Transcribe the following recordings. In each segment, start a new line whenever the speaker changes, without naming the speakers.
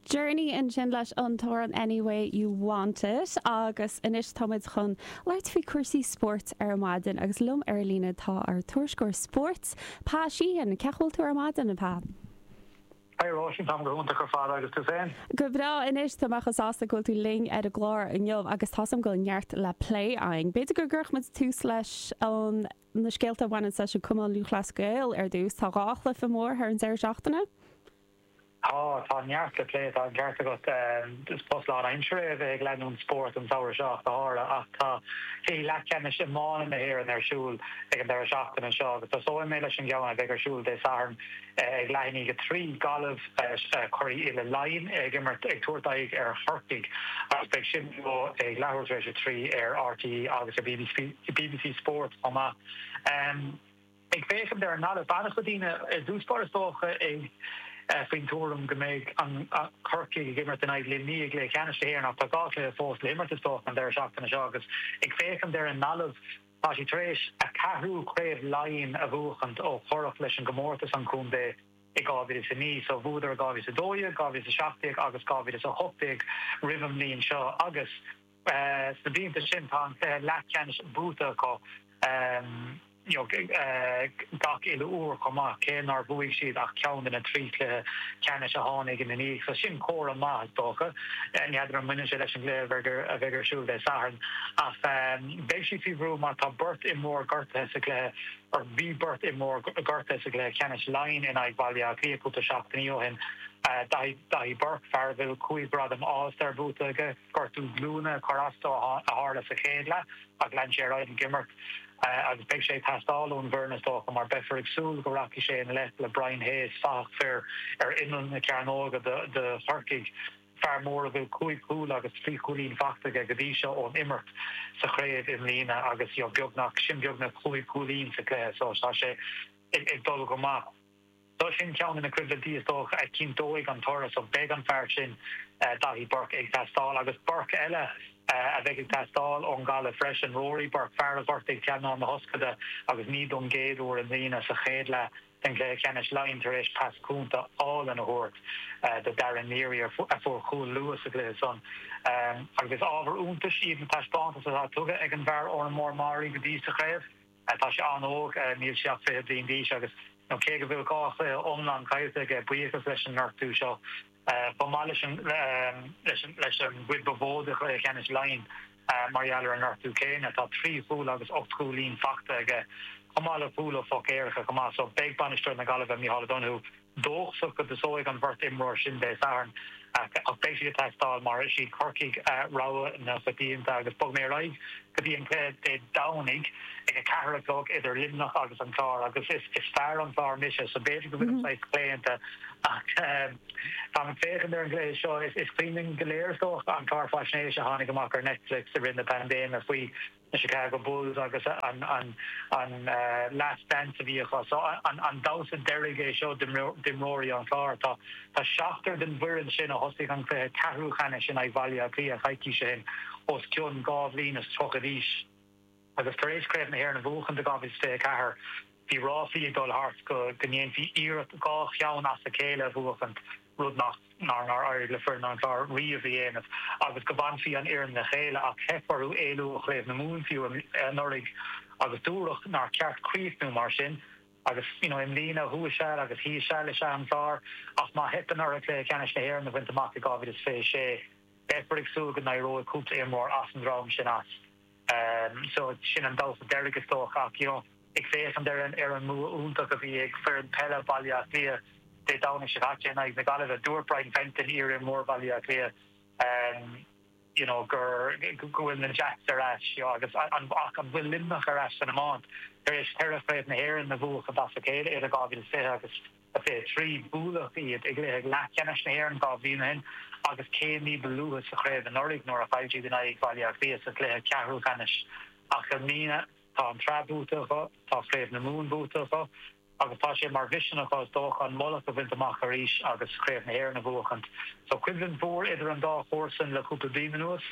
Journey ansin leis an t-amhrán Any Way You Want It agus anois táimid chun labhairt faoi cúrsaí spóirt ar maidin agus liom ar líne tá ár tuairisceoir spóirt, Pa Sheehan. Cén chaoi a bhfuil tú ar maidin, a Pa?
Hi Róisín, táim go hiontach ar fad agus tú féin?
Go breá anois, tá mé chomh sásta go bhfuil tú linn ar an gclár inniu agus tá's agam go bhfuil neart le plé againn. B'fhéidir go gcuirfeadh muid tús leis an na scéalta a bhaineann leis an Cumann Lúthchleas Gael ar dtús. Tá 2 chluiche mór thar an deireadh seachtaine.
Tá, tá neart le plé, tá an ceart agat. Is post lánaimseartha é a bheith ag leanúint spóirt an samhradh seo ach go háirithe. Ach tá cluichí leathcheannais iomána na hÉireann ar siúl ag an deireadh seachtaine seo agus tosóidh mé leis an gceann a bheidh ar siúl Dé Sathairn ag leath i ndiaidh a 3, Gaillimh, curaidh uile Laighean, ag imirt, ag tabhairt aghaidh ar Chorcaigh agus beidh sin beo ag leathuair tar éis a 3 ar RTÉ agus ar bbc Sport chomh maith. Ag féachaint ar an nGaillimh, tá an-chuid daoine i dtús báire is dócha ag faoin tuairim go mbeidh an Corcaigh ag imirt in aghaidh Luimnigh i gcluiche ceannais na hÉireann ach tá 2 chluiche fós le himirt is dócha an deireadh seachtaine seo agus ag féachaint ar an nGaillimh tá siad tar éis a ceathrú craobh Laighean a bhuachaint ó cuireadh leis an gcomórtas an chontae i 2009. So bhuadar i 2012, 2017 agus 2018 roimh an mbliain seo agus Sna blianta sin tá an cluiche leathcheannais buaite acu gach uile uair chomh maith, cé nár bhuaigh siad ach ceann de na 3 chluiche ceannais a tháinig ina ndiaidh. So sin comhartha maith, is dócha. Ní fheadar an mbaineann sé leis an gcluiche a bheidh ar siúl Dé Sathairn ach beidh siad faoi bhrú mar tá beirt imreoir gortaithe sa gcluiche, or bhí beirt imreoir gortaithe sa gcluiche ceannais Laighean in aghaidh Bhaile Átha Cliath cúpla seachtainí ó shin. Daithí Burke, fear a bhfuil 5 ghradam All-Star buaite aige. Gortú glúine a chuir as dó a tharla sa chéad leath ach lean sé ar aghaidh ag imirt agus beidh sé ag teastáil ón bhfoireann is dócha mar beifear ag súil go rachaidh sé i ngleic le Brian Hayes, fathach fir ar imeall na cearnóige do Chorcaigh, fear mór a bhfuil 5 chúl agus 3 chúilín faighte aige go dtí seo ón imirt sa chraobh i mbliana agus beagnach, sin beagnach 5 chúilín sa chluiche so tá sé ag dul go maith. So sin ceann de na coimhlintí is dócha a chinnteoidh an toradh so beidh an fear sin, Daithí Burke, ag teastáil. Agus Burke eile a bheidh ag teastáil ón Ghaillimh freisin, Rory Burke, fear a ghortaigh teannán na hioscaide agus ní don gcéad uair i mbliana sa chéad leath den gcluiche ceannais Laighean tar éis pas cúnta álainn a thabhairt do Darren Neary a fuair cúl luath sa gcluiche san. Agus is ábhar iontais iad na taispeántais atá tugtha ag an bhfear ón mBarr Meáraí go dtí sa chraobh. Tá sé an-óg, níl sé ach 20 bliain d'aois agus cé go bhfuil 2 chluiche iomlán caillte aige, buíochas leis an ngortú seo, chomh maith leis an leis an gcuid ba mhó de chluiche ceannais Laighean mar gheall ar an ngortú céanna, tá 3 chúl agus 8 gcúilín faighte aige, chomh maith le cúl ó phoc éirice chomh maith. So beidh bainisteoir na Gaillimhe, Micheál O'Donoghue, dóchasach go dtosóidh an bheirt imreoir sin Dé Sathairn ach beidh siad ag teastáil mar is iad Corcaigh rogha na coitianta. Agus bogfaidh mé ar aghaidh go dtí an cluiche Dé Domhnaigh ag 4 a chlog idir Luimneach agus an Clár agus is fear an Chláir mise so b'fhéidir go bhfuilim saghas claonta ach táim ag féachaint ar an gcluiche seo. Is cuimhin linn go léir is dócha an clár faisnéise a tháinig amach ar Netflix i rith na paindéime faoi na Chicago Bulls agus an last dance a bhí acu. So an damhsa deiridh é seo d'imreoirí an Chláir. Tá seachtar den bhfoireann sin a thosaigh an cluiche ceathrú ceannais in aghaidh Bhaile Átha Cliath coicís ó shin os cionn 2 bhliain is 30 d'aois. Agus tar éis Craobh na hÉireann a bhuachan i 2024, bhí ráflaí ag dul thart go ndéanfaí iarracht 2 cheann as a chéile a bhuachaint, rud nach nár éirigh le foireann an Chláir riamh a dhéanamh, agus go bhfanfaí an fhoireann le chéile, ach theip orthu éalú ó Chraobh na Mumhan fiú anuraidh agus dúradh nár cheart críochnú mar sin. Agus you know i mbliana thuas seal agus thíos seal is ea an Clár, ach má theipeann orthu cluiche ceannais na hÉireann a bhaint amach i 2026, beifear ag súil go n-éireoidh cúpla imreoir as an dream sin as. So sin an damhsa deiridh is dócha ach you know ag féachaint ar an ar an mbua iontach a bhí ag foireann peile Bhaile Átha Cliath Dé Domhnaigh seo caite in aghaidh na Gaillimhe, dúirt Brian Fenton, iar-imreoir Bhaile Átha Cliath, you know gur go bhfuil na Jacks ar ais you know agus an ach an bhfuil Luimneach ar ais san iomáint tar éis cheithre chraobh na hÉireann a bhuachaint as a chéile idir 2020 agus 23. Buaileadh iad i gcluiche leathcheannais na hÉireann 2 bhliain ó shin agus céim ní ba luaithe sa chraobh anuraidh nuair a chaill siad in aghaidh Bhaile Átha Cliath sa chluiche ceathrú ceannais. Ach i mbliana tá an tsraith buaite acu, tá Craobh na Mumhan buaite acu agus tá sé mar mhisean acu is dócha an mullach a bhaint amach arís agus Craobh na hÉireann a bhuachaint. So coimhlint mhór idir an dá chomharsan le cúpla bliain anuas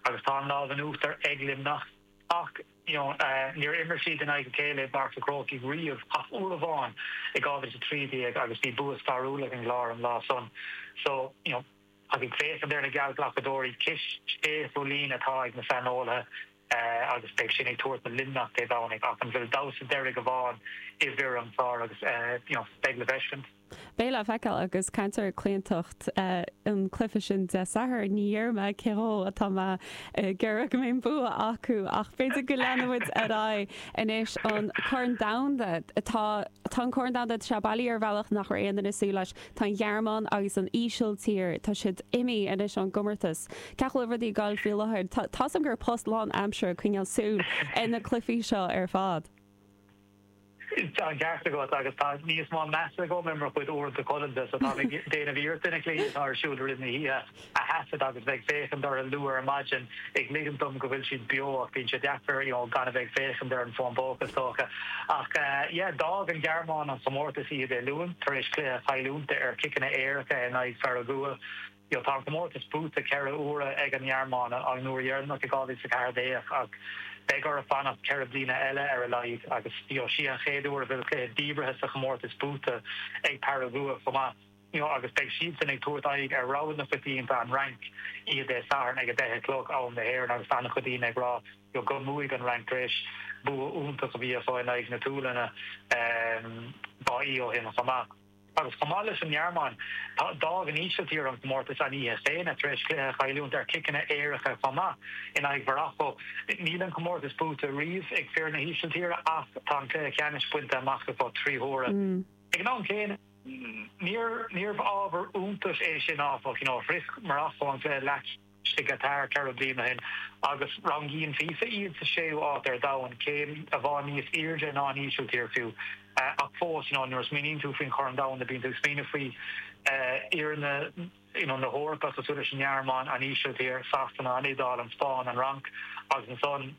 agus tá an lámh in uachtar ag Luimneach ach, you know, níor imir siad in aghaidh a chéile i bPáirc an Chrócaigh riamh ach uair amháin i 2013 agus bhí bua stairiúil ag an gClár an lá san. So, you know, Ach ag féachaint ar na geallghlacadóirí, cis sé chúilín atá ag na saineolaithe agus beidh sin ag tabhairt do Luimneach Dé Domhnaigh. Ach an bhfuil damhsa deiridh amháin i bhfir an Chláir agus you know beidh le feiscint.
Beidh le feiceáil agus caint ar chlaontacht an cluiche sin Dé Sathairn, ní dhéarfaidh mé cé dhó atá mé ag iarraidh go mbeidh an bua acu ach b'fhéidir go leanfaidh muid ar aghaidh anois an Corn Domhanda. Tá tá an Corn Domhanda tá sé bailithe ar bhealach nach raibh aon duine ag súil leis. Tá an Ghearmáin agus an Ísiltír, tá siad imithe anois ón gcomórtas. Cén chaoi a bhfuil rudaí ag gabháil faoi láthair? Tá 's agam gur post lán-aimseartha coinneáil súil ar na cluichí seo ar fad.
Tá an ceart agat agus tá níos mó measa agam ar mo chuid uaireanta codlata so táim ag déanamh iarrachta na cluichí atá ar siúl i rith na hoíche a thaifead agus bheith ag féachaint orthu luath ar maidin ag ligint dom go bhfuil siad beo ach bíonn sé deacair you know gan a bheith ag féachaint ar an bhfón póca is dócha. Ach yeah d'fhág an Ghearmáin an chomórtas oíche Dé Luain tar éis cluiche a chailliúint ar chiceanna éirice in aghaidh Pharagua. You know, tá an comórtas buaite 4 huaire ag an nGearmáin, an uair dheireanach i 2014, ach beidh orthu fanacht 4 bliana eile ar a laghad agus you know, sí an chéad uair a bhfuil cluiche díbeartha sa chomórtas buaite ag Paragua chomh maith. You know, agus beidh siadsan ag tabhairt aghaidh ar rogha na coitianta, an Fhrainc, oíche Dé Sathairn ag 10 a chlog am na hÉireann agus tá an-chuid daoine ag rá you know, go mbuafaidh an Fhrainc tar éis bua iontach a bhí acu in aghaidh na Sualainne dhá oíche ó shin chomh maith. Agus chomh maith leis an nGearmáin, d'fhág an Ísiltír an comórtas an oíche chéanna tar éis cluiche a chailliúint ar chiceanna éirice chomh maith in aghaidh Mharacó. Níl an comórtas buaite riamh ag fir na hÍsiltíre ach tá an cluiche ceannais bainte amach acu 3 huaire. Ag an am céanna, níorbh ábhar iontais é sin áfach, you know, shroich Maracó an cluiche leathcheannais i gCatar 4 bliana ó shin agus rangaíonn FIFA iad sa séú áit ar domhan, céim amháin níos airde ná an Ísiltír fiú. Ach fós, you know, nuair a smaoiníonn tú faoin Chorn Domhanda, bíonn tú ag smaoineamh faoi fhoirne, you know, na hEorpa, cosúil leis an nGearmáin, an Ísiltír, Sasana, an Iodáil, an Spáinn, an Fhrainc agus ansan,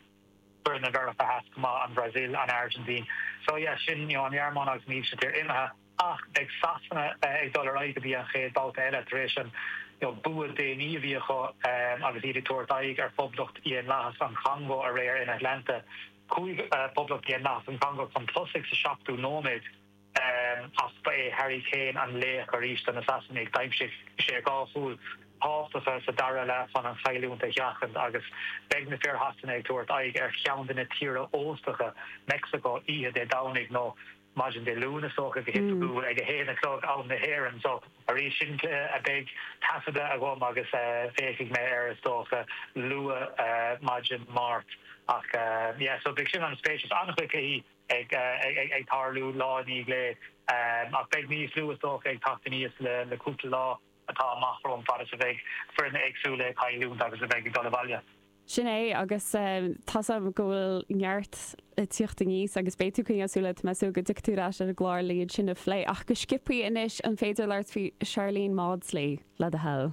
foirne Mheiriceá Theas chomh maith, an Bhrasaíl, an Airgintín. So yeah, sin, you know, an Ghearmáin agus an Ísiltír imithe. Ach beidh Sasana ag dul ar aghaidh go dtí an chéad bhabhta eile tar éis an bua déanaí a bhí acu agus iad ag tabhairt aghaidh ar Phoblacht Dhaonlathach an Chongó aréir in Atlanta. Chuaigh Poblacht Dhaonlathach an Chongó chun tosaigh sa seachtú nóiméad ach ba é Harry Kane an laoch arís do na Sasanaigh. D'aimsigh sé dhá chúl thábhachtacha sa dara leath chun an chailliúint a sheachaint agus beidh na fir Shasana ag tabhairt aghaidh ar cheann de na tíortha óstacha, Meicsiceo, oíche Dé Domhnaigh nó maidin Dé Luain is dócha, go hoifigiúil ag 1 a chlog am na hÉireann. So arís, sin cluiche a beidh taifeadta agam agus féachfaidh mé air is dócha luath maidin Máirt. Ach yeah, so beidh sin an-spéisiúil. An-chuid cluichí ag ag tarlú lá i ndiaidh lae ach beidh níos lú is dócha ag teacht aníos le cúpla lá atá amach romhainn fad is a bheidh foirne éagsúla ag cailliúint agus a bheidh ag dul abhaile.
Sin é, agus tá's agam go bhfuil neart ag tíocht aníos agus beidh tú ag coinneáil súil, tá mé ag súil go dtiocfaidh tú ar ais ar an gclár le iad sin a phlé. Ach go sciobthaí anois, an féidir labhairt faoi Sharlene Mawdsley, le do thoil?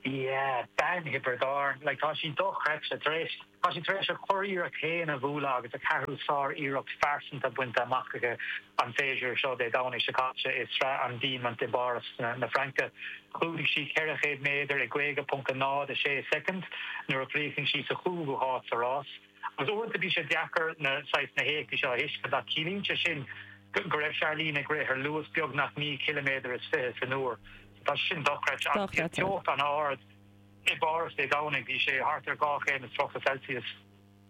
Yeah, bean Thiobraid Árann. Like, tá sí dochreidte. Tar éis, tá sí tar éis a curiarracht féin a bhualadh agus a ceathrú sár-iarracht phearsanta bainte amach aici an séasúr seo, Dé Domhnaigh seo caite i Sraith an Diamaint i bPáras na Fraince. Chlúdaigh sí 400 méadar i 50.06 soicind nuair a chríochnaigh sí sa chúigiú háit sa rás. Agus uaireanta bíonn sé deacair na saghas na héachtaí seo a thuiscint ach ciallaíonn sé sin go raibh Sharlene ag rith ar luas beagnach 19 ciliméadar san uair. Tá sé sin dochreidte agus bhí an teocht an-ard i bPáras Dé Domhnaigh, bhí sé thart ar 2 chéim is 30 Celsius.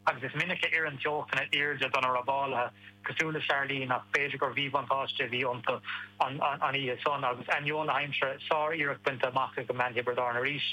Agus is minic a oireann teochtanna airde do na rábálaithe, cosúil le Sharlene, ach b'fhéidir gur mhíbhuntáiste a bhí iontu an oíche san. Agus ainneoin na haimsire, sár-iarracht bainte amach ag an mbean Thiobraid Árann arís.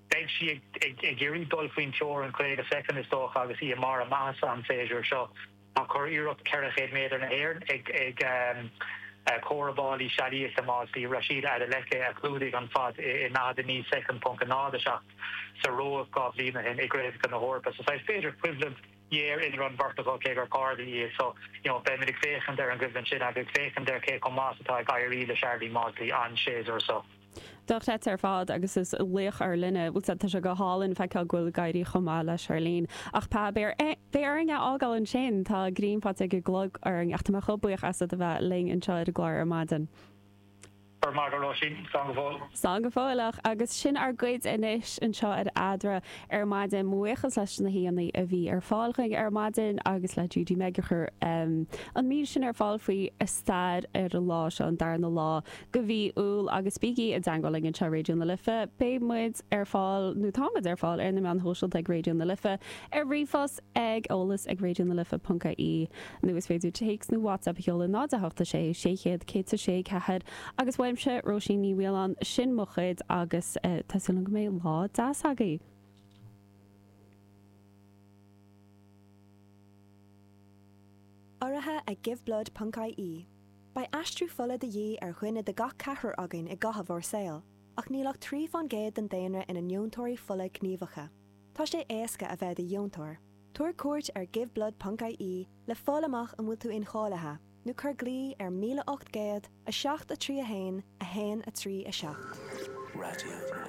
Beidh sí ag iarraidh dul faoin teorainn 50 soicind, is dócha, agus í i mbarr a maitheasa an séasúr seo. Tá curiarracht 400 méadar na hÉireann ag comhrábálaí sealaíochta Mawdsley, Rhasidat Adeleke, a chlúdaigh an fad i 49 soicind ponc 07 sa Róimh 2 bhliain ó shin i gCraobhacha na hEorpa. So saghas b'fhéidir coimhlint ghéar idir an bheirt acu cé gur cairde iad. So, you know, beimid ag féachaint ar an gcoimhlint sin agus ag féachaint ar cé chomh maith is atá ag éirí le Sharlene Mawdsley an séasúr seo.
Dochreidte ar fad agus is laoch ár linne. Bhuel, tá sé go hálainn feiceáil go bhfuil ag éirí chomh maith le Sharlene. Ach Pa, beidh orainn é a fhágáil ansin, tá grian faighte ag an gclog orainn ach tá mé chomh buíoch asat a bheith linn anseo ar an gclár ar maidin.
Go raibh maith agat, a Róisín. Slán go fóill.
Slán go fóilleach. Agus sin ár gcuid anois anseo ar Eadra ar maidin. Mo bhuíochas leis na haíonna a bhí ar fáil chugainn ar maidin agus le Judy Meg a chuir an mír sin ar fáil faoi stair ar an lá seo, an darna lá de mhí Iúil. Agus bígí i dteangmháil linn anseo ar Raidió na Life. Beidh muid ar fáil, nó táimid ar fáil, ar na meáin shóisialta ag Raidió na Life, ar ríomhphost ag eolas ag raidionalife.ie nó is féidir téacs nó WhatsApp a sheoladh 0 8 6 600 106 4 agus uaimse, Róisín Ní Mhaoláin, sin mo chuid agus tá súil agam go mbeidh lá deas agaibh.
Urraithe ag Giveblood ponc ie. Beidh aistriú fola de dhíth ar dhuine de gach ceathrar againn i gcaitheamh ár saoil, ach níl ach 3 fán gcéad den daonra ina ndeontóirí fola gníomhacha. Tá sé éasca a bheith i do dheontóir. Tabhair cuairt ar giveblood ponc ie le fáil amach an bhfuil tú incháilithe, nó cuir glao ar 1800 7 3 1 1 3 7.
Raidió.